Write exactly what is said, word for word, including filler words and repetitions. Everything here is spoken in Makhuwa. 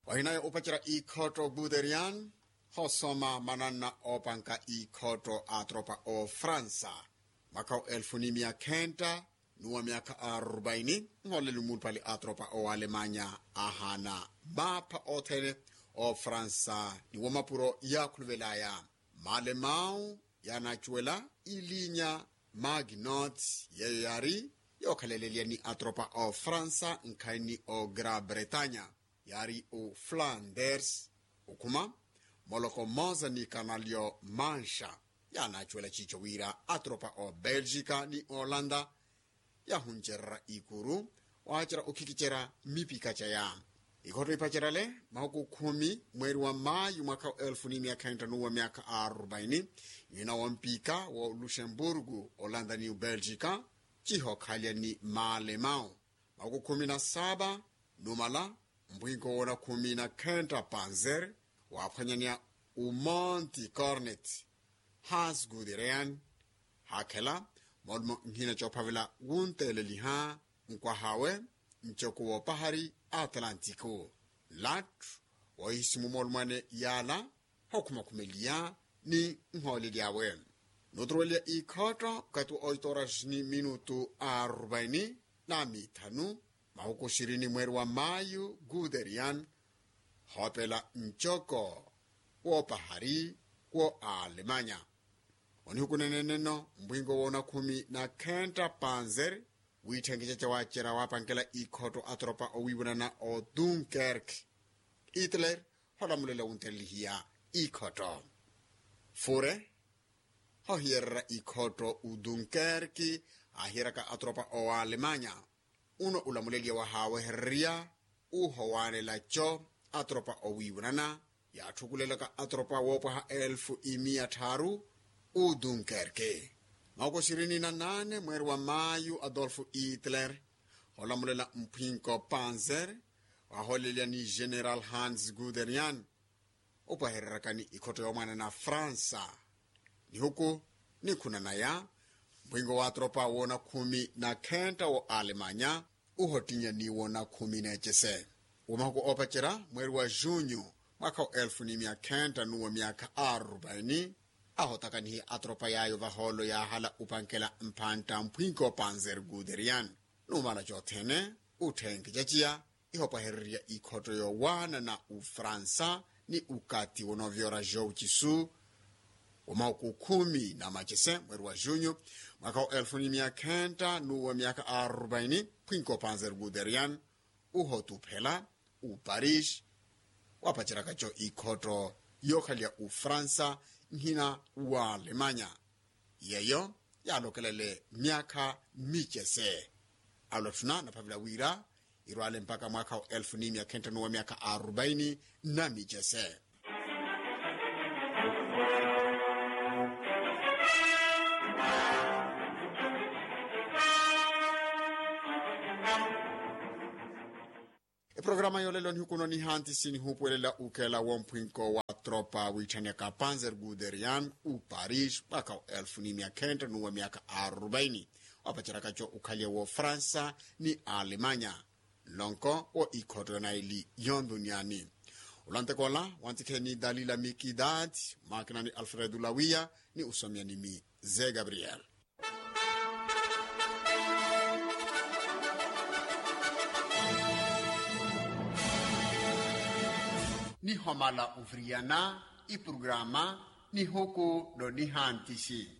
Ohinayo opacerya ikhotto guterian, hosoma mananna opanka ikhotto a tropa o fransa, mwaka wa elfu ni mia khenta nuwa myaka arubaini. Nholeli mulupali a tropa o alemanya ahana mapha othene o fransa ni womapuro yakhuluvelaya. Malemau yanacuwela ilinya maginot, yeyo yari yokhalelelya ni atropa o fransa nkhaini o gra bretanya, yari o flanders, okhuma moloko mosa ni kanalyo manxa. Yanacuwela cico wira atropa o belgika ni olanda yahuncererya ikuru wacerya okhikicerya mipika caya. Ikhotto ipacerya le mahuku khumi mweri wa mayu mwaka wa elfu ni mia khenta nuwa myaka arubaini, nyina wa mpika wa luxemburgu olanda ni belgika, cihokhalya ni malemau. Mahuku khumi na saba numala mpwinko woona khumi na khenta panzer waphwanyaniya umonti cornet, hans guderean hakhela molumo nhina coophavela wunteeleliha nkwahawe ncoko woopahari atlantiku. Nlattu wohisimu molumwane yaala hokhumakhumeliya ni nhooleli awe. Nuturuweliya ikhotto kati wa oito horas ni minutu arubaini na mithanu mahuku xirini mweri wa mayu guterian hoopela ncoko woopahari wo alemanya. Onihukuneneneno mpwinko woona khumi na khenta panzer wiithenkeca cawacerya waapankela ikhotto atropa owiiwunana o dunkerk. Hitler holamulela wuntelelihiya ikhotto. Fure hohiyererya ikhotto u dunkerk ahiyeryaka atropa o alemanya. Uno ulamuleliya wahaawehererya uhowaanela-co atropa owiiwunana yaathukulelaka atropa woopwaha elfu imiya tthaaru u dunkerk. Mahuku xirini na naane mweri wa mayu adolfu hitler holamulela mphwinko panzer wahoolelya ni general hans guterian opwahereryakani ikhotto yoomwaana na fransa. Nihuku nikhuna naya mpwinko wa atropa woona khumi na khenta wo alemanya uhottinya ni woona khumi n'ecese. Wo mahuku oopacerya mweri wa junyu mwaka wa elfu ni mia khenta nuwa myaka arubaini ahotakanihiye atropa yaayo vahoolo yaahala upankela mphantta mphwinko panzer guterian. Numala cothene utthenke caciya ihopwahererya ikhotto yoowaana na ufransa ni ukati wonoovyoora jowu cisu. Wo mahuku khumi na macese mweri wa junyu mwaka wa elfu ni mia khenta nuwa myaka arubaini phwinko panzer guterian uhotuphela uparish wapaceryaka-co ikhotto yookhaliya ufransa nhina wa alemanya. Yeyo yaalokelele myaakha micese. Alotthuna naphavela wira irwale mpakha mwaakha wa elfu ni mia khenta nuwa myaakha arubaini na micese. Eprograma yoolelo nihukuno nihantisi nihuupuwelela ukeela womphwinko wa tropa wiitthanyaka panzer guderian u paris mwaakha wa elfu ni mia khenta nuwa myaakha arubaini wapaceryaka-co ukhaliye wo fransa ni alemanya. Nlonko wo ikhotto yonaili yonduniani. Olanteko ola wantikhe ni dalila mikidad, makina ni alfredo lawiya ni usomiya ni mi ze gabriel. Nihomala oviriyana iprograma nihuku no nihantisi.